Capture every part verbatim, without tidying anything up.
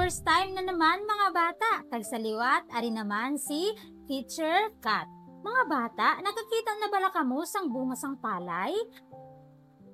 First time na naman, mga bata, kag sa liwat, ari naman si Teacher Kat. Mga bata, nakakita na bala kamo sang bunga sang palay?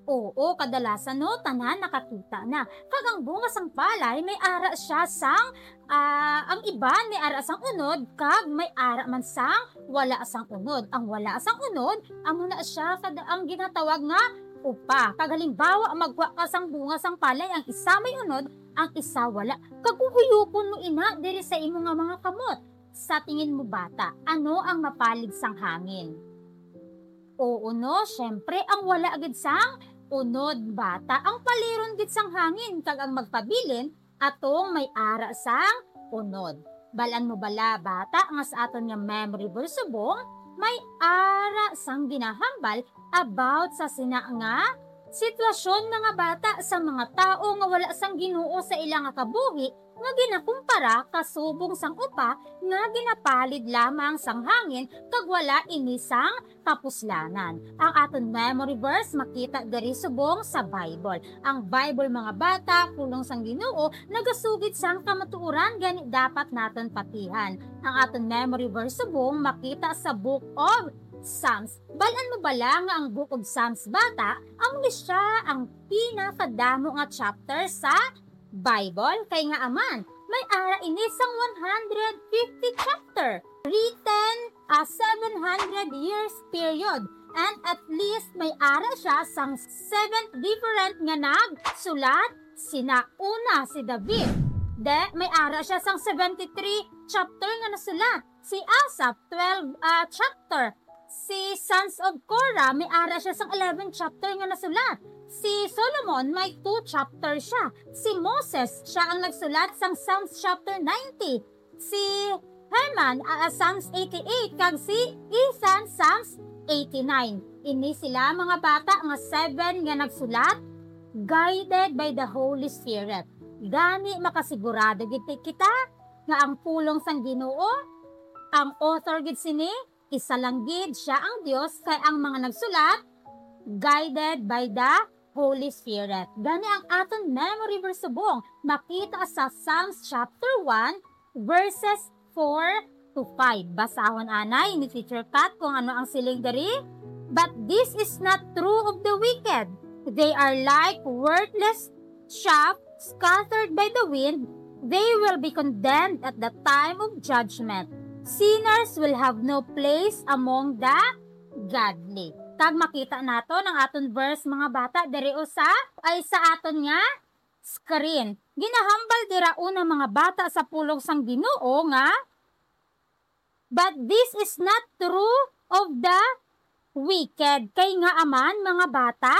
Oo, kadalasan, no, tanan nakakita na. Kag ang bunga sang palay may ara siya sang, ah, ang iban may ara sang unod, kag may ara man sang wala sang unod. Ang wala sang unod, amo na siya kad-, ang ginatawag nga upa. Kag halimbawa, magkuha ka sang bunga sang palay, ang isa may unod, ang isa wala. Kag kung huyupon mo ina diri sa imo nga mga kamot, sa tingin mo, bata, ano ang mapalid sang hangin? Oo, no? Siyempre, ang wala gid sang unod, bata. Ang paliron gid sang hangin, kag ang magpabilin atong may ara sang unod. Balan mo bala, bata, nga sa aton nga memory verse subong, may ara sang ginahambal about sa sina nga sitwasyon, mga bata, sa mga tawo nga wala sang Ginoo sa ila nga kabuhi, nga ginakumpara kasubong sang upa nga ginapalid lamang sang hangin kag wala ini sang kapuslanan. Ang aton memory verse makita diri subong sa Bible. Ang Bible, mga bata, pulong sang Ginoo, nagasugid sang kamatuoran, gani dapat naton patihan. Ang aton memory verse subong makita sa Book of Psalms. Balan mo bala nga ang Book of Psalms, bata, amo ni siya ang pinakadamo nga chapter sa Bible, kay nga aman, may ara ini sang one hundred fifty chapter, written a seven hundred years period, and at least may ara siya sang seven different nga nagsulat. Sina una si David, de may ara siya sang seventy-three chapter nga nasulat. Si Asaph, twelve, ah, chapter. Si Sons of Korah, may ara siya sang eleven chapter nga nasulat. Si Solomon, may two chapter siya. Si Moses, siya ang nagsulat sang Psalms chapter ninety. Si Heman, ah, Psalms eighty-eight, kag si Ethan, Psalms eighty-nine. Ini sila, mga bata, nga seven nga nagsulat, guided by the Holy Spirit. Gani, makasigurado gid kita nga ang pulong sang Ginoo, ang author gid sini, isa lang gid siya ang Dios, kay ang mga nagsulat, guided by the Holy Spirit. Gani ang aton memory verse subong makita sa Psalms chapter one, verses four to five. Basahon anay ni Teacher Kat kung ano ang siling diri. "But this is not true of the wicked. They are like worthless chaff scattered by the wind. They will be condemned at the time of judgment. Sinners will have no place among the godly." Kag makita naton ang aton verse, mga bata, diri usa ay sa aton nga screen. Ginahambal dira una, mga bata, sa pulong sang Ginoo nga, "But this is not true of the wicked." Kay nga aman, mga bata,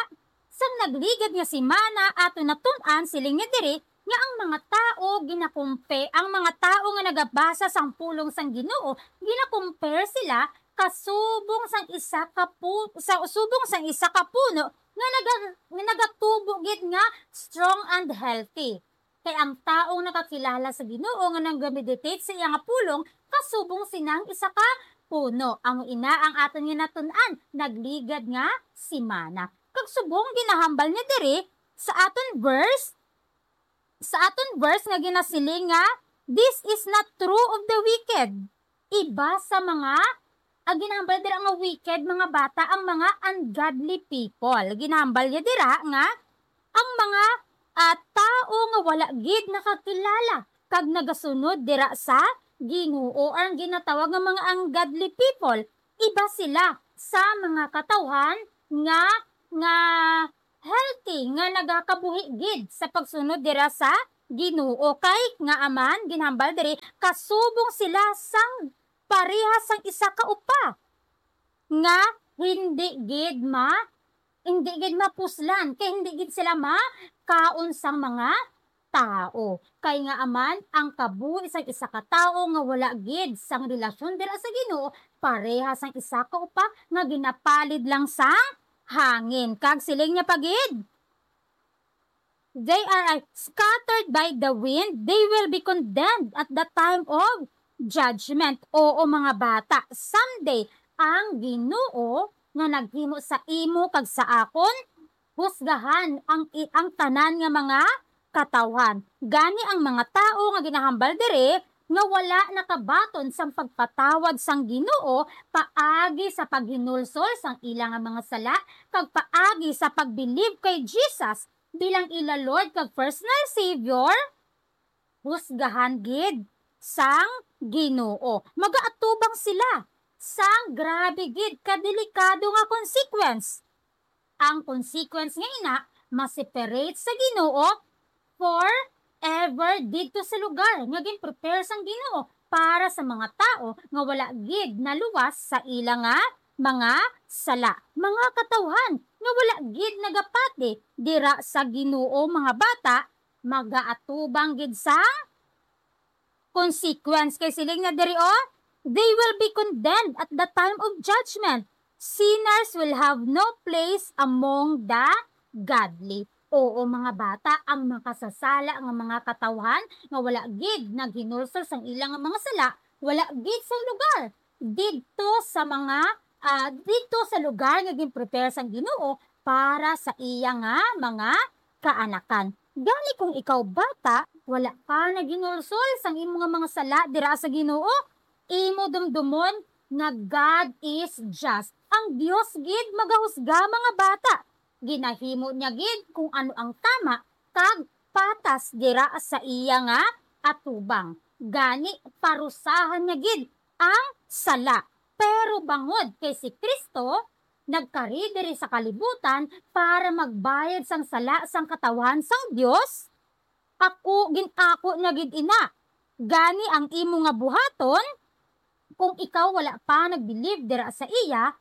sang nagligad nga semana, aton natun-an, siling niya diri, nga ang mga tawo ginakumpe-, ang mga tawo nga nagabasa sang pulong sang Ginoo, ginakumpare sila kasubong sang isa ka pu-, sa, subong sang isa ka puno nga naga-, nga nagatubo gid nga strong and healthy. Kay ang taong nakakilala sa Ginoo nga nagameditate sa iya nga pulong, kasubong sinang isa ka puno. Amo ina ang aton nga natun-an, nagligad nga semana. Kag subong ginahambal niya diri sa aton verse, sa aton verse nga ginasiling nga, "This is not true of the wicked." Iba sa mga, ang ginahambal dira nga wicked, mga bata, ang mga ungodly people. Ginahambal niya dira nga ang mga, ah, tawo nga wala gid nakakilala kag nagasunod dira sa Ginoo, or ang ginatawag nga mga ungodly people, iba sila sa mga katawhan nga, nga healthy, nga nagakabuhi gid sa pagsunod dira sa Ginoo. Kay nga aman, ginhambal diri, kasubong sila sang pareha sang isa ka upa nga hindi gid ma-, hindi gid mapuslan, kay hindi gid sila makaon sang mga tawo. Kay nga aman, ang kabuhi sang isa ka tawo nga wala gid sang relasyon dira sa Ginoo, pareha sang isa ka upa nga ginapalid lang sang hangin. Kag siling niya pa gid, "They are, uh, scattered by the wind. They will be condemned at the time of judgment." Oo, mga bata, someday, ang Ginoo nga naghimo sa imo kag sa akon, husgahan ang i-, ang tanan nga mga katawhan. Gani ang mga tawo nga ginahambal diri nga wala nakabaton sang pagpatawad sang Ginoo paagi sa paghinulsol sang ila nga mga sala kag paagi sa pagbilib kay Jesus bilang ila Lord kag personal Savior, husgahan gid sang Ginoo. Magaatubang sila sang grabe gid ka delikado nga consequence. Ang consequence nga ina, ma-separate sa Ginoo forever didto sa lugar nga gin-prepare sang Ginoo para sa mga tawo nga wala gid naluwas sa ila nga mga sala. Mga katawhan nga wala gid nagapati dira sa Ginoo, mga bata, magaatubang gid sang consequence. Kay siling na diri, oh, "They will be condemned at the time of judgment. Sinners will have no place among the godly." Oo, mga bata, ang makasasala nga mga katawhan nga wala gid naghinulsol sang ila nga mga sala, wala gid sang lugar didto sa mga, ah, didto sa lugar nga gin-prepare sang Ginoo para sa iya nga mga kaanakan. Gani, kung ikaw, bata, wala ka naghinulsol sang imo nga mga sala dira sa Ginoo, imo dumdumon nga God is just. Ang Dios gid magahusga, mga bata. Ginahimo niya gid kung ano ang tama kag patas dira sa iya nga atubang. Gani, parusahan niya gid ang sala. Pero bangod kay si Cristo nagkari diri sa kalibutan para magbayad sang sala sang katawhan sang Dios, ako, gin-ako niya gid ina. Gani, ang imo nga buhaton, kung ikaw wala pa nagbilib dira sa iya,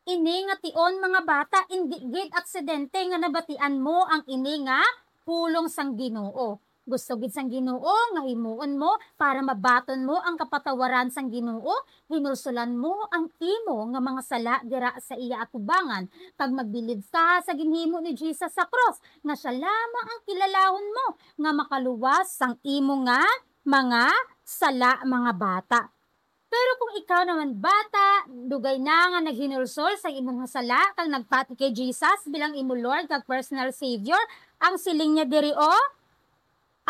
ini nga tion, mga bata, indi gid aksidente nga nabatian mo ang ini nga pulong sang Ginoo. Gusto gid sang Ginoo nga himuon mo para mabaton mo ang kapatawaran sang Ginoo, hinulsulan mo ang imo nga mga sala dira sa iya atubangan, kag magbilib ka sa ginhimo ni Jesus sa krus, nga siya lamang ang kilalahon mo nga makaluwas sang imo nga mga sala, mga bata. Pero kung ikaw naman, bata, dugay na nga naghinulsol sa imo nga sala kag nagpati kay Jesus bilang imo Lord kag personal Savior, ang siling niya diri, oh,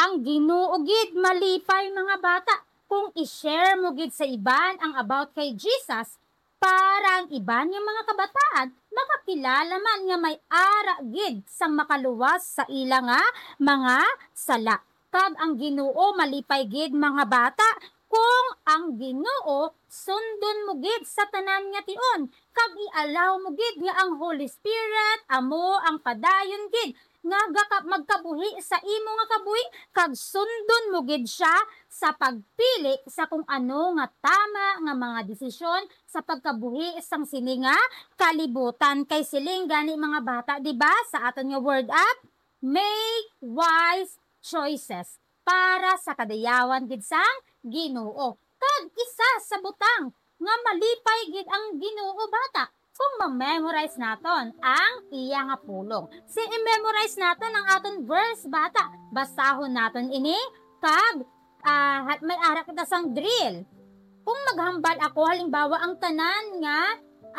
ang Ginoo gid malipay, mga bata, kung i-share mo gid sa iban ang about kay Jesus, para ang iban nga mga kabataan makakilala man nga may ara gid sang makaluwas sa ila nga mga sala. Kag ang Ginoo malipay gid, mga bata, kung ang Ginoo sundon mo gid sa tanan nga tion, kag i-allow mo gid nga ang Holy Spirit amo ang padayon gid nga gaka-, magkabuhi sa imo nga kabuhi, kag sundon mo gid sia sa pagpili sa kung ano nga tama nga mga desisyon sa pagkabuhi sang sini nga kalibutan. Kay siling gani, mga bata, di ba, sa aton nga word up, make wise choices para sa kadayawan gid sang Ginoo. Kag isa sa butang nga malipay gid ang Ginoo, bata, kung ma-memorize naton ang iya nga pulong. Si i-memorize naton ang aton verse, bata. Basahon naton ini, kag, ah, ha-, may ara kita sang drill. Kung maghambal ako, halimbawa, ang tanan nga,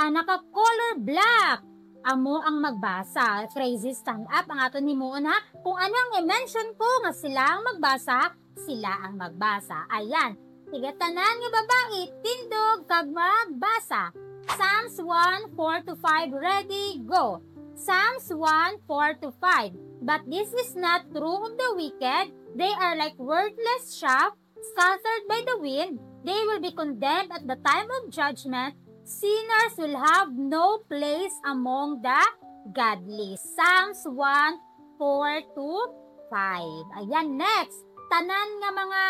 ah, naka-color black, amo ang magbasa. Crazy, stand up ang aton himuon, ha. Kung ano ang i-mention ko nga sila ang magbasa, sila ang magbasa. Ayan. Sige, tanan nga babayi, tindog kag magbasa. Psalms one, four to five, ready, go. Psalms one, four to five. But this is not true of the wicked. They are like worthless chaff scattered by the wind. They will be condemned at the time of judgment. Sinners will have no place among the godly. Psalms one, four to five. Ayan, next. Tanan nga mga